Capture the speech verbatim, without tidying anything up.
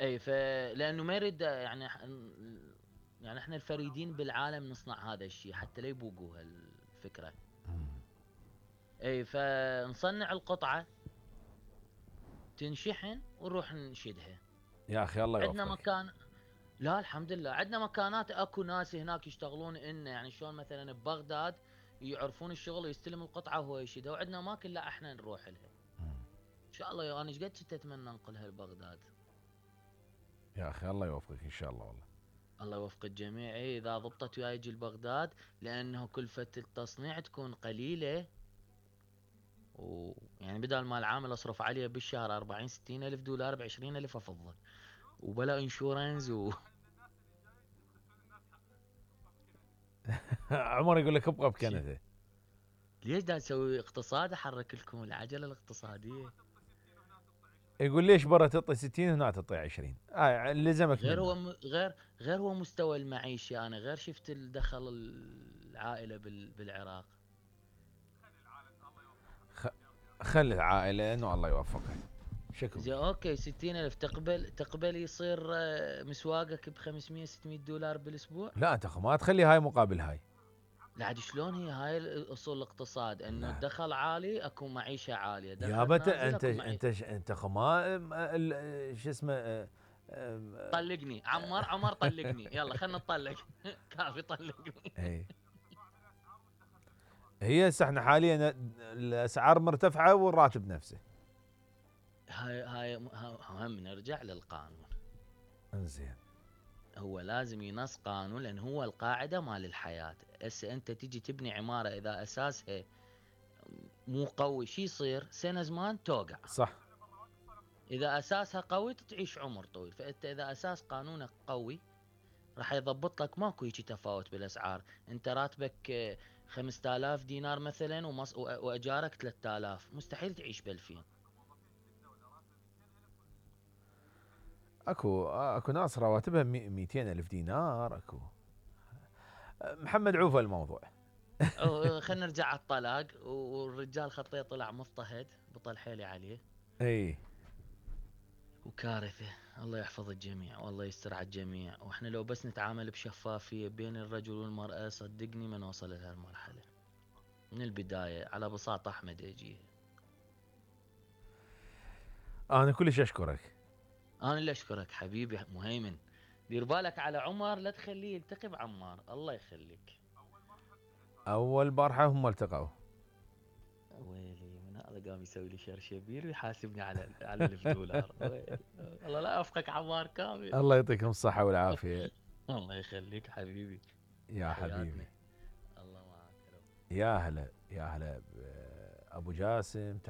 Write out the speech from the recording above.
اي ف لانه ما يريد يعني ح- يعني احنا الفريدين بالعالم نصنع هذا الشيء حتى لا يبوقوا هالفكره. مم. اي فنصنع القطعه، تنشحن ونروح نشدها. يا اخي الله عندنا يوفقك. مكان. لا الحمد لله عندنا مكانات، اكو ناس هناك يشتغلون إن يعني شلون مثلا ببغداد يعرفون الشغل ويستلم القطعه وهو يشيدها، وعندنا اماكن لا احنا نروح لها. مم. ان شاء الله يا انا ايش قد كنت اتمنى انقلها لبغداد. يا اخي الله يوفقك ان شاء الله والله. الله يوفق الجميع. إيه، اذا ضبطت وياي يجي لبغداد، لانه كلفة التصنيع تكون قليلة، ويعني بدل ما العامل اصرف عليه بالشهر أربعين ستين الف دولار بعشرين الف افضل، وبلا انشورنس و... عمر يقول لك ابقى شي. بكندا. ليش دا نسوي اقتصاد احرك لكم العجلة الاقتصادية؟ يقول ليش برا تعطي ستين هنا تعطي عشرين، آه لزمك غير هو منه. م... غير غير هو مستوى المعيشي، انا غير شفت الدخل العائلة بال... بالعراق. خ... خلي العائله انه الله يوفقك. شكو زين اوكي، ستين الف تقبل تقبل يصير آه، مسواقك ب خمسمية ستمية دولار بالاسبوع؟ لا انت ما تخلي هاي مقابل هاي. لا عاد شلون هي هاي اصول الاقتصاد، انه لا الدخل عالي اكو معيشة عالية، دخل يابا انت نازل انت اكو معيشة. انت انت خما ام- ال- شو اسمه اه، ام- طلقني عمار، عمر طلقني، يلا خلنا نطلق. كافي طلقني. اي. هي هسه احنا حاليا الاسعار مرتفعه والراتب نفسه. هاي هاي ها- هم نرجع للقانون. انزين. هو لازم ينص قانون، لان هو القاعدة مال الحياة. هسه انت تجي تبني عمارة اذا اساسها مو قوي، شي يصير سنة زمان توقع. صح. اذا اساسها قوي تعيش عمر طويل. فانت اذا اساس قانونك قوي راح يضبط لك، ماكو هيجي تفاوت بالاسعار. انت راتبك آه، خمسة آلاف دينار مثلا ومص... وأ- واجارك ثلاثة آلاف، مستحيل تعيش ب ألفين. اكو اكو ناس رواتبها مي- مئتين الف دينار اكو. محمد عوفه الموضوع. أو- خلينا نرجع على الطلاق. والرجال خطيه طلع مضطهد، بطل حيلي عليه، اي. وكارثة. الله يحفظ الجميع والله يستر على الجميع. واحنا لو بس نتعامل بشفافية بين الرجل والمرأة، صدقني ما نوصل لهالمرحلة من البداية. على بساطة احمد يجي. انا كلش اشكرك. انا اللي اشكرك حبيبي مهيمن. دير بالك على عمر، لا تخليه يلتقي بعمار، الله يخليك. اول بارحه هم التقوا. ويلي من هذا قام يسوي لي شرشبيل ويحاسبني على على الف دولار. ويلي. الله لا افقك عمار كامل. الله يعطيكم الصحه والعافيه. الله يخليك حبيبي. يا تحياتنا. حبيبي. الله معك يا رب. يا هلا يا هلا ب- ابو جاسم.